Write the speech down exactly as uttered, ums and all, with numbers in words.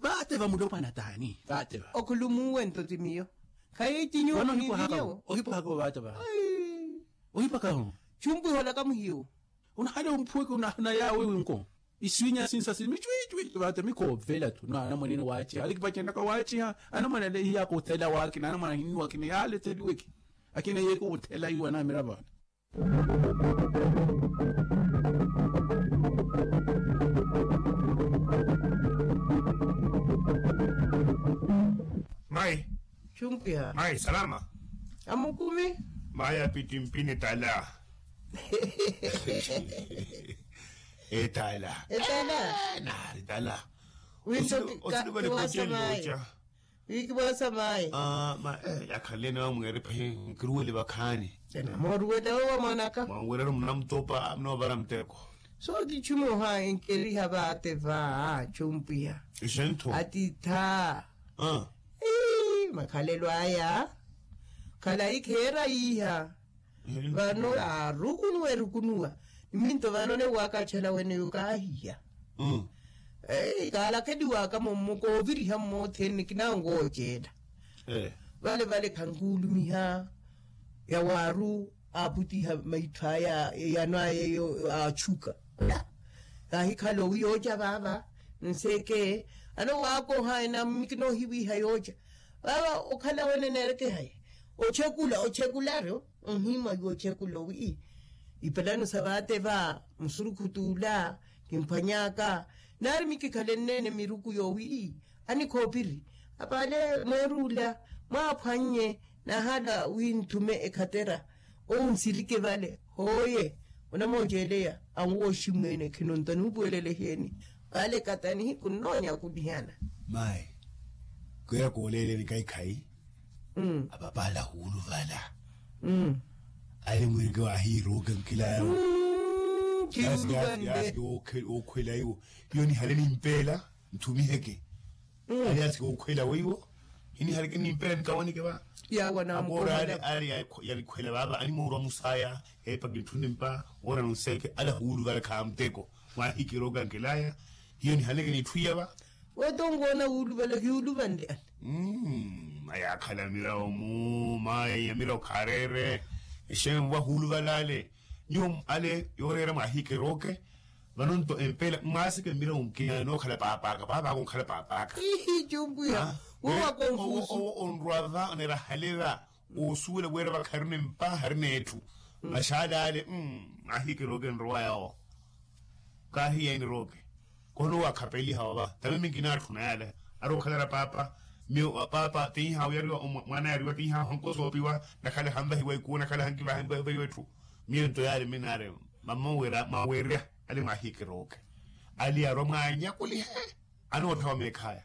Vaate va mulopwana taani vaate va. Okhulumuwe nto ti miyo. Khayi ti nyuwo. Vano ohipwahaka. Ohipwahaka vaate va. Ohipwahaka. Chumpwiha olaka muhiyo. Onahale omphuweke onahana yaawe winko. Isiwinya sinsa sili michwichwi vaate mikhoovela tu na anamwanene waachiha alikipacenaka waachiha. Anamwana ale hiyaka othela waakina anamwana ahinnu akina yaale etheliweke. Akina yeeke othela iwa naamira vaana. Mayi. Chumpwiha mayi salama. Amukumi. Mayi apittimpini tala. Etala. Etala. Naari tala. Wiiso kiwasa mayi. Wiikiwasa mayi. Yakhalene wamweeri pahi nkiruwele vakhaani. Moruwele owo mwanaka mwanwerero munamutopa munoovara muteko. So kichumoha enkeriha vaate va chumpwiha. Ixentho. Atitha. Makhalelo aya. Khalayi kheera yiiha. Vano arukunuwa erukunuwa. Niminto vano ne wakachala weneyo kaahiya. Kaalakheliwaka mummo kooviriha mmothene kinango oceela. Vale vale khankuulumiha yawaaru aaputiha maitho aya eyano aya eyo aatchuka. Kaahikhala owi yooca vaava nseeke. Ano waakoha ena mmi kinoohiwiiha yooca vaava okhala wene neerekehaye. Ochekula ochekularu onhimwa iwe ochekula owi ipelano sa vaate va musurukhu t'ula kimphwany'aka. Naari mmi kikhalenneene miruku yoowi anikhoopiri apaale mweeruula mwaaphwannye. Naahala wi nthume ekhatera owu nsirike vale hooye onamooceeleya anwooxi mweene khinonto anuupuwelele eheeni. Vale kata nihiku nnoonya okulihana. Mayi kweya kooleeleni kaikhayi apapaala huuluvala. Ali mwirike waahiiruuke nkilayo. Yasi yasi yasi. Ookhwela iwo hiyo nihale nimpeela nthumiheke. Ali yasi ookhwela weiwo hinihaleke nimpeela nikawanike va. Akoora ale ale yalikhwela vaava animoorwa musaya epa kintthunimpa woona nonseeke ale ahuuluvala khaamuteko. Mwaahikirooka nkelaya hiyo nihaleke nitthu iya va. Wotonkoona wuuluvala hiyuuluvanle ale. Mmm ayaakhala mirawo mu mayi ya mirawo khaareere. Exeeni wa huuluvala ale nyuwo ale yooreera mwaahikirooke. Vano nto empeela mwaaseke mirawo nkina nookhala paapaka paapaka onkhala paapaka. Ihi cumpuya. Wowa konfusu. Onrwa va onera hale va osuwela wira vakharina empa harina etthu. Maxaala ale mwaahikirooke nrowa yawo. Kaahiya enirooke. Kono waakhapeliha wava tave minkina atthu na yale ari okhalara paapa. Miyo paapa tinha oyariwa mwana yariwa tinha hankosa opiwa. Nakhale hanvahiwa ikuwo nakhale hankivaha emvahiwa etthu. Miyo nto yale minare mama wira mwawerya. Ali mwaahikirooke ali arwa mwaanyakulihe. Anootthawa meekhaya.